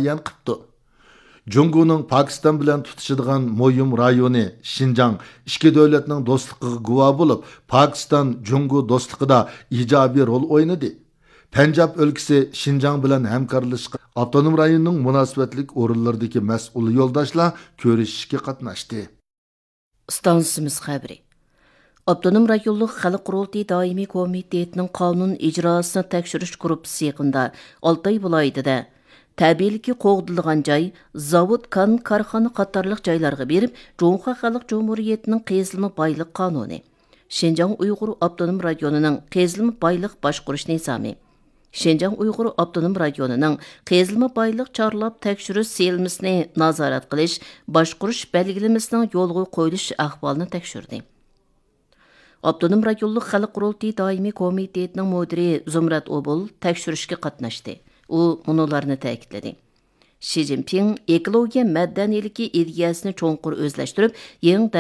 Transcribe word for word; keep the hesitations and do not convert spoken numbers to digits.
بايان قىپتۇ. جۇڭگونىڭ پاكىستان بىلەن تۇتىشىدىغان مۇھىم رايونى شىنجاڭ ئىككى دۆلەتنىڭ دوستلۇقىغا گۇۋاھ بولۇپ، پاكىستان جۇڭگو دوستلۇقىدا ئىجابىي رول ئوينىدى. پەنجاب ئۆلكىسى شىنجاڭ بىلەن ھەمكارلىشىشقا ئاپتونوم رايوننىڭ مۇناسىۋەتلىك ئورۇنلىرىدىكى مەسئۇل يولداشلار كۆرۈشۈشكە قاتناشتى. ئىستانسىمىز خەۋىرى. ئاپتونوم رايونلۇق خەلق قۇرۇلتىيى دائىمىي كومىتېتىنىڭ قانۇن ئىجراسىنى تەكشۈرۈش گۇرۇپپىسى يېقىندا ئالتاي ۋىلايىتىدە تەبىئىيلىكى قوغدىلىدىغان جاي، زاۋۇت، كان، كارخانا قاتارلىق جايلارغا بېرىپ، جۇڭخۇا خەلق جۇمھۇرىيىتىنىڭ قېزىلما بايلىق قانۇنى، شىنجاڭ ئۇيغۇر ئاپتونوم رايونىنىڭ قېزىلما بايلىق باشقۇرۇش نىزامى، شىنجاڭ ئۇيغۇر ئاپتونوم رايونىنىڭ قېزىلما بايلىق چارلاپ تەكشۈرۈش سىيلىمىسىنى نازارەت قىلىش، باشقۇرۇش بەلگىلىمىسىنىڭ يولغا قويۇلۇش ئەھۋالىنى تەكشۈردى. ئاپتونوم رايونلۇق خەلق قۇرۇلتىيى دائىمىي كومىتېتىنىڭ مۇدىرى زۇمرەت ئوبۇل تەكشۈرۈشكە قاتناشتى. ئۇ مۇنۇلارنى تەكىتلىدى. شى جىنپىڭ ئېكولوگىيە مەدەنىيلىكى ئىدىيەسىنى چوڭقۇر ئۆزلەشتۈرۈپ، يېڭى دەۋر